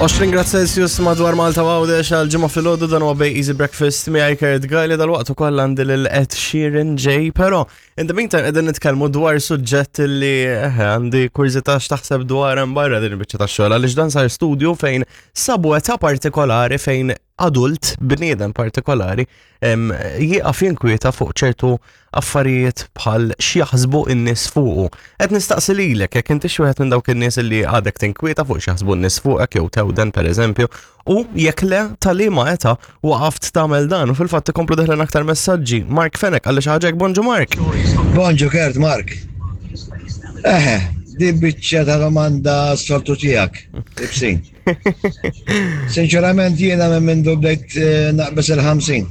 20 grad Celsius madwar Malta u Għawdex għal ġimgħa filgħodu dan huwa Bay Easy Breakfast miegħi Kurt Gajli dal-waqt ukoll għandi lil Ed Sheeran ġej, però in the meantime qegħdin nitkellmu dwar suġġett li eh, għandi kurżità x'taħseb dwar hemm barra din il-biċċa tax-xogħol għaliex dan sar studju fejn sabu età partikolari fejn adult, bniedem partikolari, jieqaf jinkwieta fuq ċertu affarijiet bħal x'jaħsbu n-nies fuqu. Qed nistaqsi lilek jekk inti xi wieħed minn dawk in-nies li għadek tinkwieta fuq x'jaħsbu n-nies fuqek jew tewden pereżempju, u jekk le tal-liema età waqaft tagħmel dan u fil-fatt ikomplu deħlin aktar messaġġi. Mark Fenek għalli xi ħaġa bonġu Mark. Bonġu Kert Mark. Eħe, di biċċa ta' domanda s-soltu tiegħek. Ibsin. Sinċerament jiena minn mindu bdejt eh, naqbes il-50.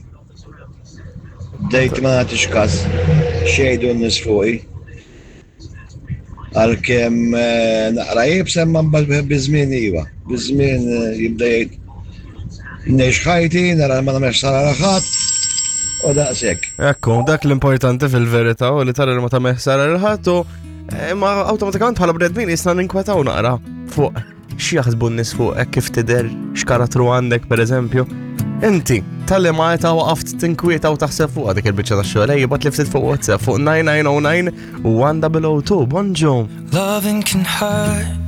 Bdejt ma nagħtix każ xejdu n-nies fuqi. Għalkemm eh, naqra jibsa imma mbagħad biż-żmien iva. Biż-żmien eh, jibda jgħid ngħix ħajti, nara ma nagħmel ħsara ħadd u daqshekk. Ekku, dak l-importanti fil-verità u li tara li ma tagħmel ħsara lil ħadd u imma awtomatikament bħala bnedmin jisna ninkwetaw naqra fuq X'jaħsbu n-nies fuqek, kif tidher, x'karattru għandek pereżempju. Inti, tal-li ma ta' waqaft tinkwieta u taħseb fuq dik il-biċċa ta' xogħol, ejja bat li ftit fuq WhatsApp fuq 9909 u 1002. Bonġu. Loving can hurt.